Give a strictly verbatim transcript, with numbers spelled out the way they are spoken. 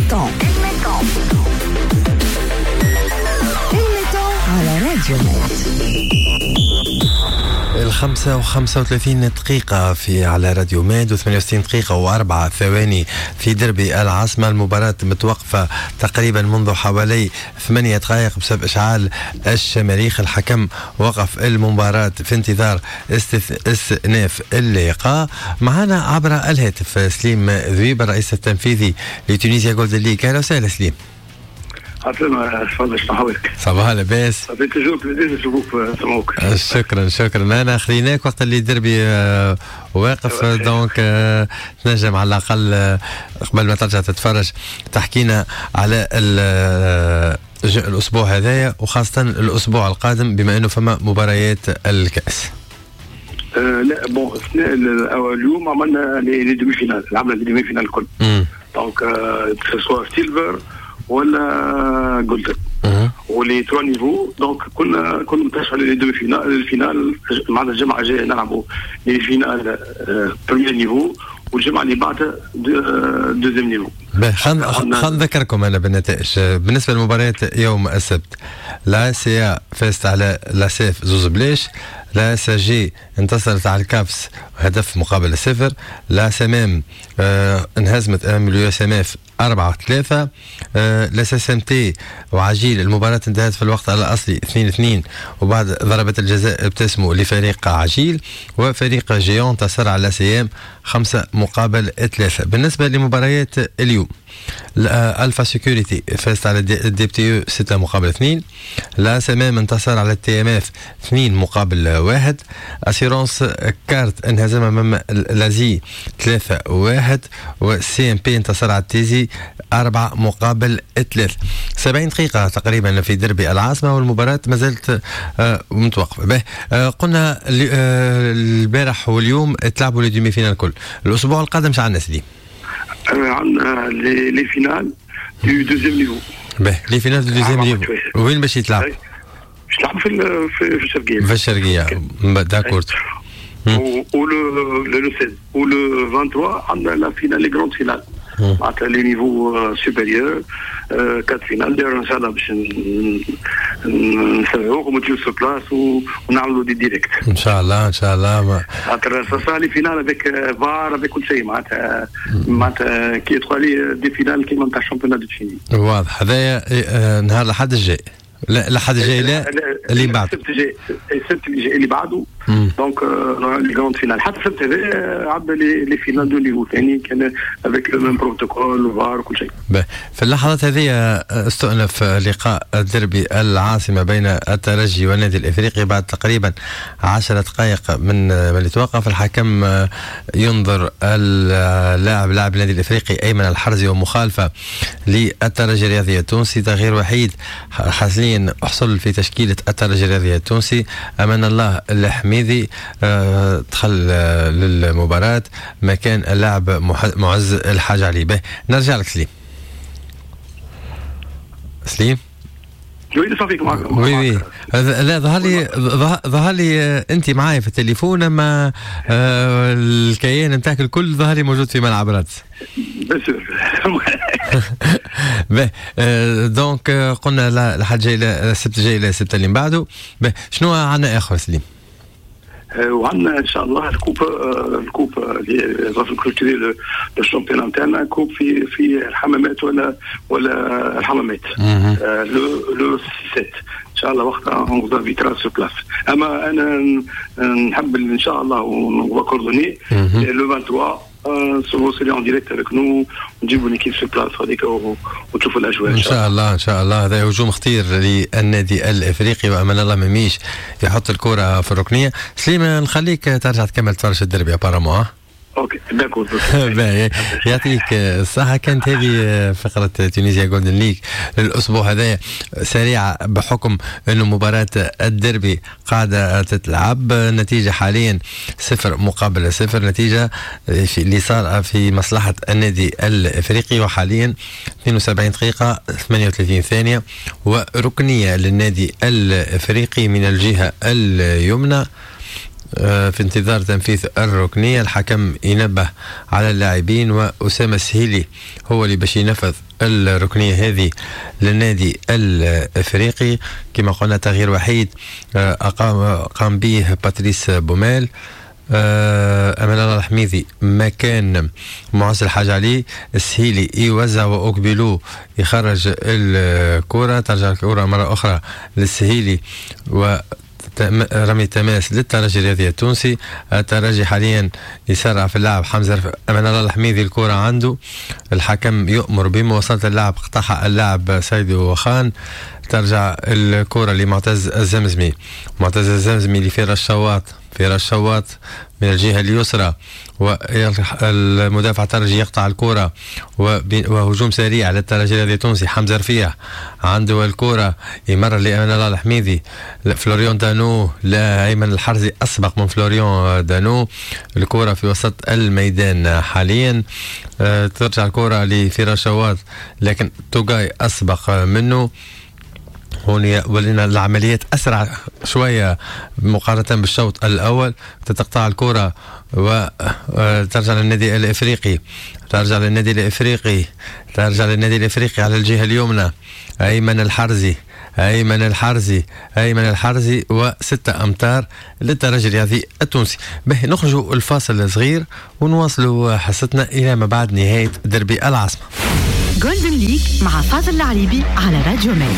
mi-temps، ال mi-temps على راديو ميد. الخمسة وخمسة وثلاثين دقيقة في على راديو ميد وثمانية وستين دقيقة وأربعة ثواني في دربي العاصمة. المباراة متوقفة تقريبا منذ حوالي ثمانية دقائق بسبب إشعال الشماريخ. الحكم وقف المباراة في انتظار استئناف اللقاء. معنا عبر الهاتف سليم ذويب، الرئيس التنفيذي ل Tunisia Golden League. أهلا وسهلا سليم. عسلامة، تفضل، شنو حوالك؟ صباح، لاباس؟ ça fait toujours plaisir نشوفوك، نسمعوك. شكرا شكرا. انا خليناك وقت اللي دربي آه، واقف، donc آه، تنجم على الاقل آه، قبل ما ترجع تتفرج تحكينا على الاسبوع هذايا وخاصة الاسبوع القادم، بما انه فما مباريات الكاس. أه لا، bon، اليوم عملنا les demi-finales، لعبنا les demi-finales الكل، donc que ce soit silver ولا golden و les trois niveaux. donc كنا كنا مترشح les demi-finales، ال finale معناتها الجمعة الجاية نلعبوا les finales premier niveau، والجمعة اللي بعدها deuxième niveau. خلينا خلينا نذكركم انا بالنتائج. بالنسبة لمباريات يوم السبت، la ACA فازت على لاسيف زوز بلاش، la SG انتصرت على الكافس هدف مقابل صفر، la SMM آه انهزمت امام ال USMF أربعة ثلاثة، آه la SMT وعجيل المباراة انتهت في الوقت الأصلي اثنين اثنين، وبعد ضربة الجزاء ابتسموا لفريق عجيل، وفريق géant انتصر على CM خمسة مقابل ثلاثة. بالنسبة لمباريات اليوم، Alpha Sécurité فازت على ال DTE ستة مقابل اثنين، la SMM انتصر على ال TMF اثنين مقابل واحد، Assurance Carte انهزم امام l'ASI ثلاثة واحد، و CMP انتصر على التيزي أربعة مقابل ثلاثة. سبعين دقيقة تقريبا في دربي العاصمة والمباراة ما زالت آه، متوقفة. آه، قلنا آه، البارح واليوم تلعبوا les demi-finales الكل. الأسبوع القادم شو عندنا سيدي؟ عندنا les finales du deuxième niveau. باهي، les finales du deuxième niveau وين باش يتلعب؟ باش يتلعب في في الشرقية. في الشرقية، d'accord. و le seize و le vingt-trois عندنا la finale، les grandes finales، معناتها les niveaux supérieurs، quatre finales داير. ان شاء الله باش نسمعوكم وتجيو sur place ونعملوا des directs. ان شاء الله، ان شاء الله. خاطر ça les finales avec VAR، avec كل شيء، معناتها معناتها كي يدخل des finales كيما نتاع ال championnat de Tunisie. واضح. هذايا نهار الاحد الجاي؟ لا، الاحد الجاي لا، اللي بعد. السبت الجاي، السبت اللي جاي اللي بعده، donc les grandes finales. حتى السبت هذا عندنا les les finales de niveau ثاني، كان avec le même protocole و VAR وكل شيء. في اللحظات هذه استؤنف لقاء الدربي العاصمة بين الترجي والنادي الافريقي بعد تقريبا عشر دقائق من من اللي توقف. الحكم ينظر اللاعب، لاعب النادي الافريقي ايمن الحرزي، ومخالفه للترجي الرياضي التونسي. تغيير وحيد حاليا حصل في تشكيله الترجي الرياضي التونسي، امان الله الحميدي آه، دخل آه، للمباراة مكان اللاعب معز الحاج علي. به، نرجع لك سليم. سليم. oui، صافيك، معك. oui oui، لا، ظهر لي ظهر لي انت معايا في التليفون، اما آه، الكيان نتاعك الكل ظهر لي موجود في ملعب رادس. bien sûr. donc قلنا الحد جاي، السبت الجاي، السبت اللي من بعده. شنو عندنا اخر سليم؟ وعندنا ان شاء الله ال coupe ال coupe اللي va clôturer le championnat نتاعنا، coupe في في الحمامات ولا ولا الحمامات le le سبعة ان شاء الله، وقتها on vous invitera sur place. اما انا نحب ان شاء الله on va coordonner le vingt-trois vous serez en direct avec nous، نجيبوا l'équipe sur place هذيك وتشوفوا الاجواء. ان شاء الله، ان شاء الله. هذا هجوم خطير للنادي الافريقي، وامان الله مميش يحط الكره في الركنيه. سليم، نخليك ترجع تكمل تفرج الدربي apparemment. OK، d'accord. يعطيك الصحة. كانت هذه فقرة Tunisia Golden League للأسبوع هذا، سريعة بحكم أنه مباراة الديربي قاعدة تتلعب. النتيجة حاليا صفر مقابل صفر، نتيجة اللي صار في مصلحة النادي الإفريقي، وحاليا اثنين وسبعين دقيقة ثمانية وثلاثين ثانية وركنية للنادي الإفريقي من الجهة اليمنى. آه، في انتظار تنفيذ الركنية. الحكم ينبه على اللاعبين، وأسامة السهيلي هو اللي باش ينفذ الركنية هذه للنادي الافريقي. كما قلنا تغيير وحيد آه، أقام قام به باتريس بوميل، آه، أمان الله الحميدي مكان معز الحاج علي. السهيلي يوزع وأوكبيلو يخرج الكرة، ترجع الكرة مرة أخرى للسهيلي و رمي تماس للترجي الرياضي التونسي. الترجي حاليا يسرع في اللعب، حمزة أمان الله الحميدي الكرة عنده، الحكم يؤمر بمواصلة اللعب، قطعها اللاعب سيدو وخان. ترجع الكرة لمعتز الزمزمي، معتز الزمزمي لفراس شواط، فراس شواط من الجهة اليسرى، والمدافع الترجي يقطع الكرة، وهجوم سريع للترجي الرياضي التونسي. حمزة رفيع عنده الكرة، يمرر لأمان الله الحميدي، فلوريون دانو، لا، أيمن الحرزي أسبق من فلوريون دانو. الكرة في وسط الميدان حاليا، آه، ترجع الكرة لفراس شواط لكن توغاي أسبق منه. هون ولينا العمليات اسرع شوية مقارنة بالشوط الاول. تتقطع الكره وترجع للنادي الافريقي، ترجع للنادي الافريقي، ترجع للنادي الافريقي على الجهة اليمنى. ايمن الحرزي، ايمن الحرزي، ايمن الحرزي، وستة امتار للترجي الرياضي التونسي. به نخرجوا الفاصل صغير ونواصلوا حصتنا الى ما بعد نهاية دربي العاصمه. Golden League مع فاضل العريبي على راديو ميد.